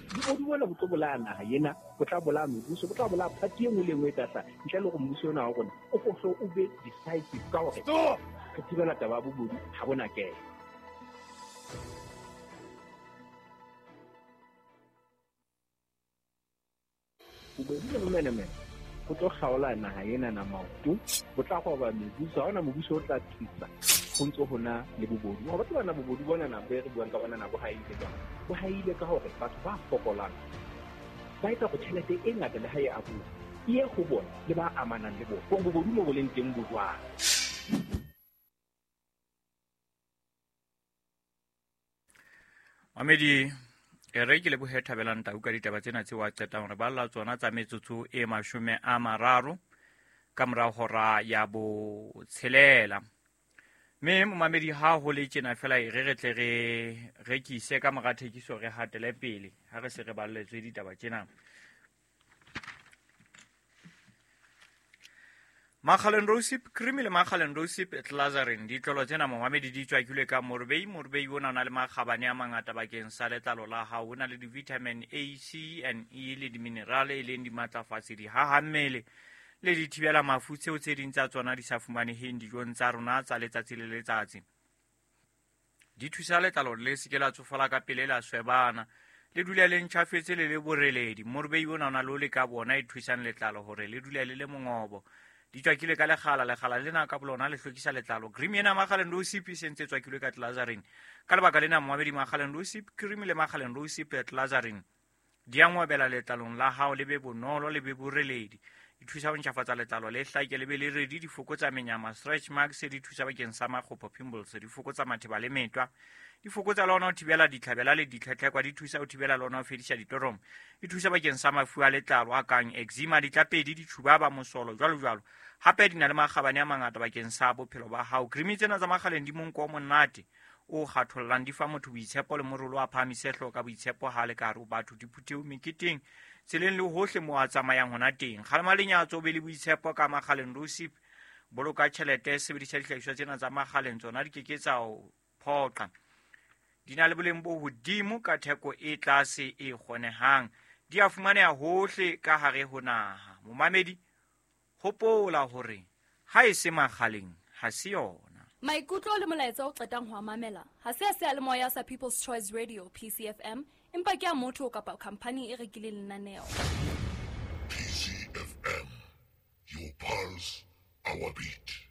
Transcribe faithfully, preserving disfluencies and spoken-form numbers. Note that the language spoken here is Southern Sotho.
Bobodu bona bo tlo bolaya naha ena, bo tla bolaya mebuso, bo tla bolaya party e nngwe le e nngwe e tla hlaha. Ntle le hore mmuso ona wa rona o ko hle o be decisive ka hore re thibela taba ya bobodu ha bona kena. Bobodu le bomenemene bo tlo kgaola naha ena na maoto, bo tla roba mebuso, ha hona mobuso o tla thusa ho ntso ho na le bobodu. Wa tseba na bobodu bona na bo re buang ka bona na bo haile jwang? Bo haile ka hore batho ba fokolang ba etsa hore tjhelete e ngata le ha e abuwa e ye ho bona le ba amanang le bona. Hore bobodu mo bo leng teng bo jwang. Mamedi, e re ke lebohe Thabelang Tau ka ditaba tsena tseo a qetang hore balla tsona tsa metsotso e mashome a mararo ka mora hora ya botshelela. Mme momamedi, ha ho le tjena fela e re re tle re rekise ka mora thekiso re hatele pele ha re se re balletswe ditaba tsena. Makgaleng Rosip Cream le Makgaleng Rosip Glycerin ditlolo tsena momamedi di tswakilwe ka morobei. Morobei ona o na le makgabane a mangata bakeng sa letlalo la hao. O na le di-vitamin A, C and E le di-minerale e leng dimatlafatsi, dihaha mmele le dithibela mafu tseo tse ding tsa tsona di sa fumaneheng dijong tsa rona tsa letsatsi le letsatsi. Di thusa letlalo le se ke la tsofala ka pele, la swebana, le dule le ntjhafetse le le boreledi. Morobei ona o na le ole ka bona e thusang letlalo hore le dule le le mongobo. Di tswakilwe ka lekgala, lekgala lena ka bolona le hlwekisa letlalo. Cream ena Makgaleng Rosip e sentse tswakilwe ka glycerin. Ka lebaka lena momamedi, Makgaleng Rosip Cream le Makgaleng Rosip Glycerin di a ngwabela letlalong la hao, le be bonolo le be boreledi. Di thusa ho ntjhafatsa letlalo le hlake le be le redi, di fokotsa menyama, stretch marks, di thusa bakeng sa makgopo, pimples, di fokotsa matheba le metwa, di fokotsa le hona ho thibela ditlhabela le ditlhetlhekwa, di thusa ho thibela le hona ho fedisa ditoromo, di thusa bakeng sa mafu a letlalo a kang eczema, ditlapedi, ditjhubaba, mosolo, jwalo jwalo. Hape di na le makgabane a mangata bakeng sa bophelo ba hao. Cream tsena tsa Makgaleng di monko o monate o kgathollang, di fa motho boitshepo le morolo a phahamise hlooho ka boitshepo ha le ka hare ho batho, diphuthehong, meketeng, tseleng le hohle moo a tsamayang hona teng. Kgalema lenyatso, o be le boitshepo ka Makgaleng Rosip. Boloka tjhelete, sebedisa dihlahiswa tsena tsa Makgaleng, tsona di ke ke tsa o phoqa. Di na le boleng bo hodimo ka theko e tlase e kgonehang. Di a fumaneha hohle ka hare ho naha. Momamedi, hopola hore ha e se Makgaleng ha se yona. Maikutlo le molaetsa o qetang ho a mamela ha se a seyalemoya sa People's Choice Radio P C F M, empa ke a motho kapa khampani e rekileng lenaneo. P C F M, your pulse, our beat.